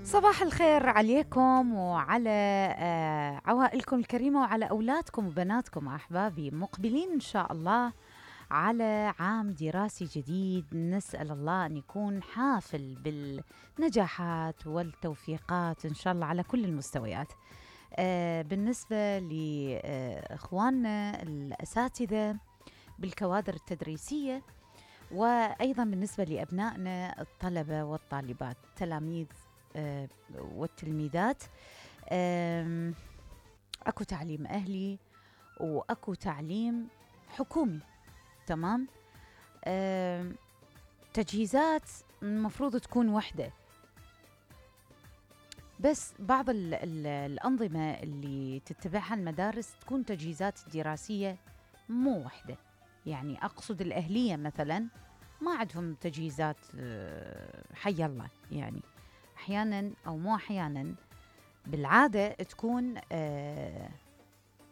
صباح الخير عليكم وعلى عوائلكم الكريمة وعلى أولادكم وبناتكم أحبابي، مقبلين إن شاء الله على عام دراسي جديد. نسأل الله أن يكون حافل بالنجاحات والتوفيقات إن شاء الله على كل المستويات. بالنسبة لإخواننا الأساتذة بالكوادر التدريسية، وأيضا بالنسبة لأبنائنا الطلبة والطالبات، تلاميذ والتلميذات. أكو تعليم أهلي وأكو تعليم حكومي، تمام. تجهيزات المفروض تكون وحدة، بس بعض الأنظمة اللي تتبعها المدارس تكون تجهيزات دراسية مو وحدة. يعني أقصد الأهلية مثلا ما عندهم تجهيزات حي الله، يعني أحيانا أو مو أحيانا بالعادة تكون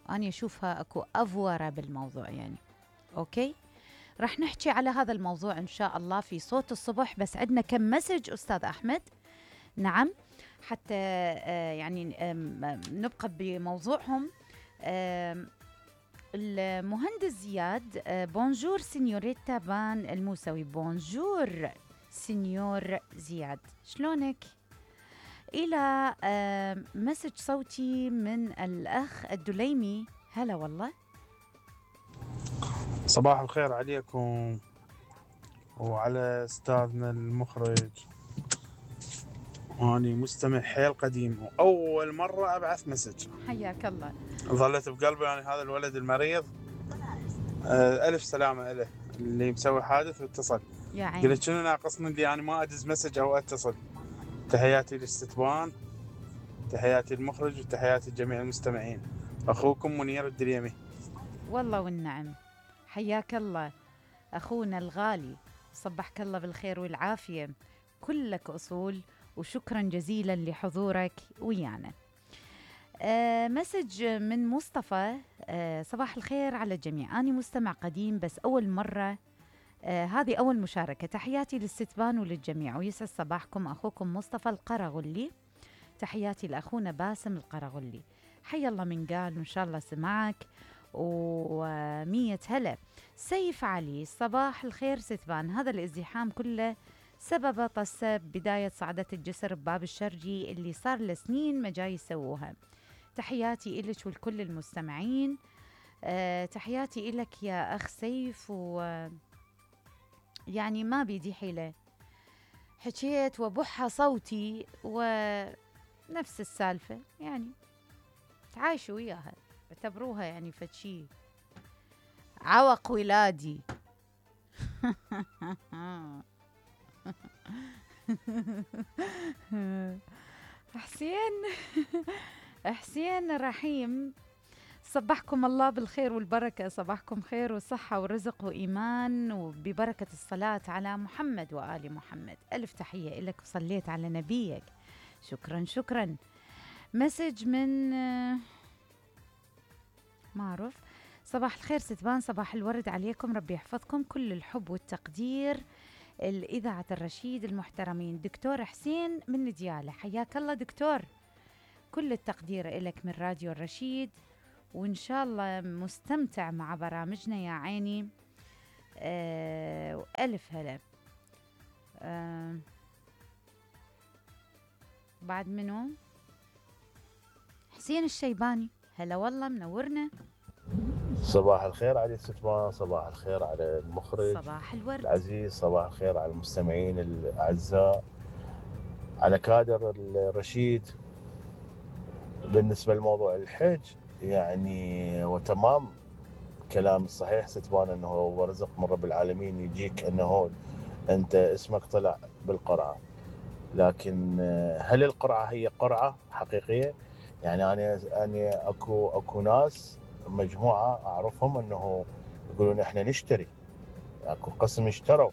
أنا أشوفها أكو أفورة بالموضوع يعني. أوكي، رح نحكي على هذا الموضوع إن شاء الله في صوت الصبح، بس عندنا كم مسج أستاذ أحمد. نعم، حتى يعني نبقى بموضوعهم. المهندس زياد، بونجور سينيوريتا بان الموسوي. بونجور سينيور زياد، شلونك؟ إلى مسج صوتي من الأخ الدليمي. هلا والله، صباح الخير عليكم وعلى أستاذنا المخرج. أنا مستمع حيل قديم وأول مرة أبعث مسج. حياك الله. ظلت بقلبي يعني هذا الولد المريض. ألف سلامة له اللي مسوي حادث واتصل. يا عيني، قلت شنو ناقصني اللي يعني ما أدز مسج أو أتصل. تحياتي للستبان، تحياتي المخرج، وتحياتي لجميع المستمعين. أخوكم منير الدليمي. والله والنعم، حياك الله أخونا الغالي، صبحك الله بالخير والعافية، كلك أصول، وشكرا جزيلا لحضورك ويانا. مسج من مصطفى. صباح الخير على الجميع، أنا مستمع قديم بس أول مرة، هذه أول مشاركة. تحياتي للستبان وللجميع ويسعد صباحكم. أخوكم مصطفى القرغلي. تحياتي لأخونا باسم القرغلي. حي الله من قال، وإن شاء الله سمعك ومية هلا. سيف علي، صباح الخير ستبان، هذا الازدحام كله سبب طسة بداية صعدة الجسر بباب الشرجي اللي صار لسنين ما جاي يسووها. تحياتي إلك ولكل المستمعين. تحياتي إلك يا أخ سيف، يعني ما بيدي حيلة، حكيت وبحة صوتي ونفس السالفة، يعني تعايشوا وياها، اعتبروها يعني فشي عوق ولادي. حسين رحيم، صبحكم الله بالخير والبركة، صباحكم خير وصحة ورزق وإيمان وببركة الصلاة على محمد وآل محمد. ألف تحية لك، وصليت على نبيك. شكرا شكرا. مسج من معروف. صباح الخير ستبان، صباح الورد عليكم، ربي يحفظكم، كل الحب والتقدير الإذاعة الرشيد المحترمين. دكتور حسين من ديالة، حياك الله دكتور، كل التقدير إلك من راديو الرشيد، وإن شاء الله مستمتع مع برامجنا يا عيني. وألف هلا. بعد منو؟ حسين الشيباني، هلا والله منورنا. صباح الخير على ستبان، صباح الخير على المخرج صباح الورد العزيز، صباح الخير على المستمعين الأعزاء، على كادر الرشيد. بالنسبة لموضوع الحج يعني وتمام كلام الصحيح ستبان، أنه هو رزق من رب العالمين يجيك أنه أنت اسمك طلع بالقرعة، لكن هل القرعة هي قرعة حقيقية؟ يعني أنا أكو ناس مجموعة أعرفهم أنه يقولون إحنا نشتري، أكو قسم اشتروا،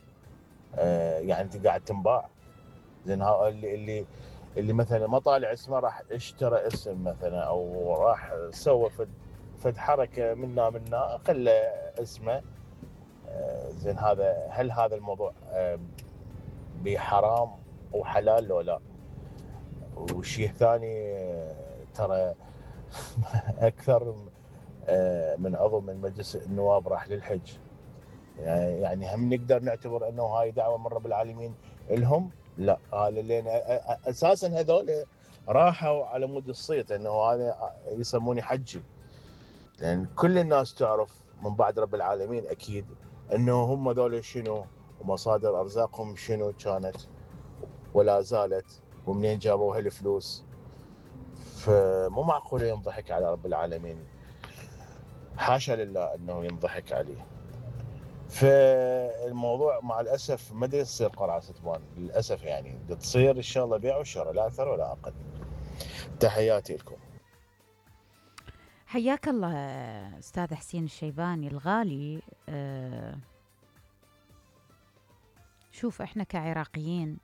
يعني أنت قاعد تنباع. زين اللي مثلا ما طالع اسمه راح اشترى اسم مثلا، أو راح سوى فد حركة منا خلى اسمه. زين هل هذا الموضوع بحرام وحلال لو لا. والشيء الثاني ترى اكثر من عضو من مجلس النواب راح للحج، يعني هم نقدر نعتبر انه هاي دعوه من رب العالمين لهم؟ لا، هذا لان اساسا هذول راحوا على مود الصيت انه هذا يسموني حجي، لان كل الناس تعرف من بعد رب العالمين اكيد انه هم ذول شنو ومصادر ارزاقهم شنو كانت ولا زالت ومنين جابوا هالفلوس. فمو معقول ينضحك على رب العالمين، حاشا لله انه ينضحك عليه. فالموضوع مع الاسف ما يصير قرعه ستبان للاسف، يعني تصير ان شاء الله بيع وشراء لا اكثر ولا اقل. تحياتي لكم. حياك الله أستاذ حسين الشيباني الغالي. شوف إحنا كعراقيين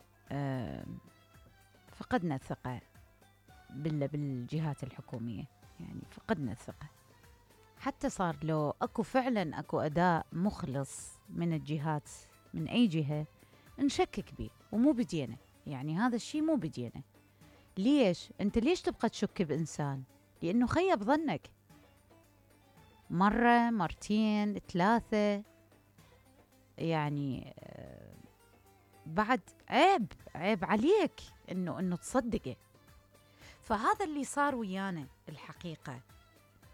فقدنا الثقة بالجهات الحكومية، يعني فقدنا الثقة، حتى صار لو أكو فعلا أكو أداء مخلص من الجهات من أي جهة نشكك بيه، ومو بدينا، يعني هذا الشيء مو بدينا. ليش؟ أنت ليش تبقى تشك بإنسان؟ لأنه خيب ظنك مرة مرتين ثلاثة، يعني بعد عيب عليك انه تصدقه. فهذا اللي صار ويانا الحقيقة،